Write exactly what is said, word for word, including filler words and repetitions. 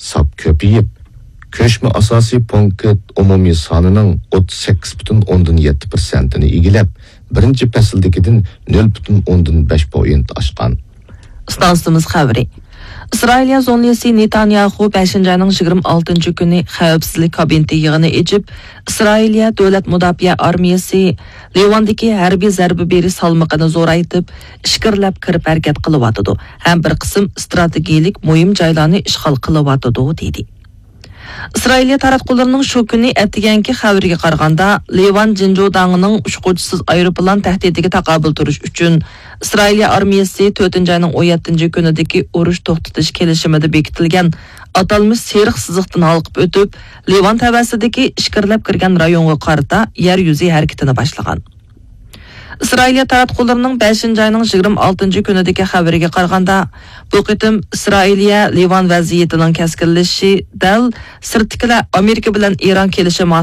ساپ كۆپىيىپ، كۆچمە ئاساسىي پونكىت ئومۇمىي سانىنىڭ ئوتتۇز سەككىز پۈتۈن ئوندىن يەتتە پىرسەنتىنى ئىگىلەپ، بىرىنچى پەسىلدىكىدىن نۆل پۈتۈن ئوندىن بەش پوينت ئاشقان. ئىستانسىمىز خەۋىرى. ئىسرائىلىيە زۇڭلىسى نېتانياخۇ بەشىنچى ئاينىڭ يىگىرمە ئالتىنچى كۈنى خەۋپسىزلىك كابىنېتى يىغىنى ئېچىپ، ئىسرائىلىيە دۆلەت مۇداپىئە ئارمىيەسى لىۋاندىكى ھەربىي زەربە بېرىش سالمىقىنى زورايتىپ، ئىچكىرىلەپ كىرىپ ھەرىكەت قىلىۋاتىدۇ ھەم بىر قىسىم ئىستراتېگىيەلىك مۇھىم جايلارنى ئىشغال قىلىۋاتىدۇ، دېدى. ئىسرائىلىيە تاراتقۇلىرىنىڭ شۇ كۈنى ئەتىگەنكى خەۋىرىگە قارىغاندا، لىۋان جىنجۇداڭىنىڭ ئۇچقۇچىسىز ئايروپىلان تەھدىتىگە تاقابىل تۇرۇش ئۈچۈن ئىسرائىلىيە ئارمىيەسى تۆتىنچى ئاينىڭ ئون يەتتىنچى كۈنىدىكى ئۇرۇش توختىتىش كېلىشىمىدە بېكىتىلگەن ئاتالمىش سېرىق سىزىقتىن ھالقىپ ئۆتۈپ، لىۋان تەۋەسىدىكى ئىچكىرىلەپ كىرگەن رايونغا قارىتا يەر يۈزى ھەرىكىتىنى باشلىغان. ئىسرائىلىيە تاراتقۇلىرىنىڭ بەشىنچى ئاينىڭ يىگىرمە ئالتىنچى كۈنىدىكى خەۋىرىگە قارىغاندا، بۇ قېتىم ئىسرائىلىيە لىۋان ۋەزىيىتىنىڭ كەسكىنلىشىشى دەل سىرتتىكىلەر ئامېرىكا بىلەن ئىران كېلىشىمى